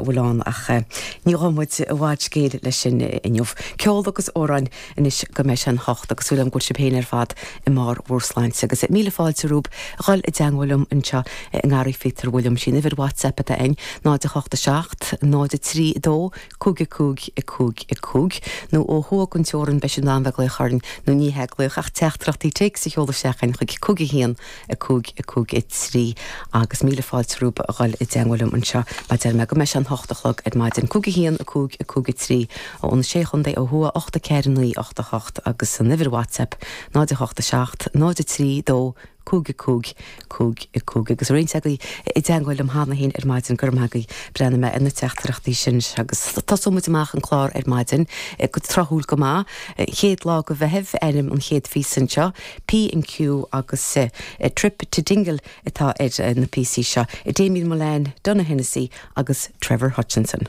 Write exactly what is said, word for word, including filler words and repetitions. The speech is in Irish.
bhfuil ann ach ní ghabhfaidh muid i bhfad scéil leis sin inniu. Ceol agus amhráin anois go mbeidh sé an hocht agus súil agam go bhfuil sibh féin ar fad i mbarr bhur sláinte agus míle fáilte romhaibh a dhul i dteangmháil liom anseo i nGarraí Phíotair William sin uimhir WhatsApp atá ann náid a hocht a seacht, náid a trí a dó, cúig a cúig, a cúig a cúig nó ó thuaidh den teorainn beidh sibh in ann bheith ag glaoch orainn nó ní hea glaoch ach teachtaireachtaí téacs a sheoladh isteach chugainn chuig cúig a haon, a cúig, a cúig a trí agus míle fáilte romhaibh a dhul i dteangmháil liom anseo mar deir mé go mbeidh sé an hocht a chlog ar maidin. Cúig a haon, a cúig, a cúig a trí ó na Sé Chontae ó thuaidh, ocht a ceathair, naoi, ocht a hocht agus an uimhir WhatsApp náid a hocht a seacht, náid a trí, dó, cúig a cúig, cúig a cúig. Agus roinnt agaibh i dteangmháil liom cheana féin ar maidin, go raibh maith agaibh, breathnóidh mé ar na teachtaireachtaí sin agus tosóidh muid amach an clár ar maidin go tráthúil go maith. Chéad lá de Mheitheamh ainm an chéad phíosa anseo, P and Q agus Trip to Dingle atá ar na píosaí seo, Damien Mullane, Donogh Hennessy agus Trevor Hutchinson.